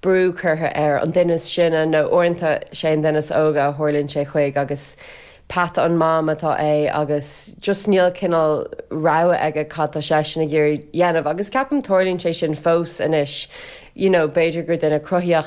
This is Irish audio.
Brú curtha ar an duine is sine nó uaireanta sé an duine is óige a tharlaíonn sé chuig agus peata an mam atá é agus just níl cineál rogha aige cad tá seisean ag iarraidh dhéanamh agus ceapaim tarlaíonn sé sin fós anois you know b'fhéidir gur duine cruthaíoch.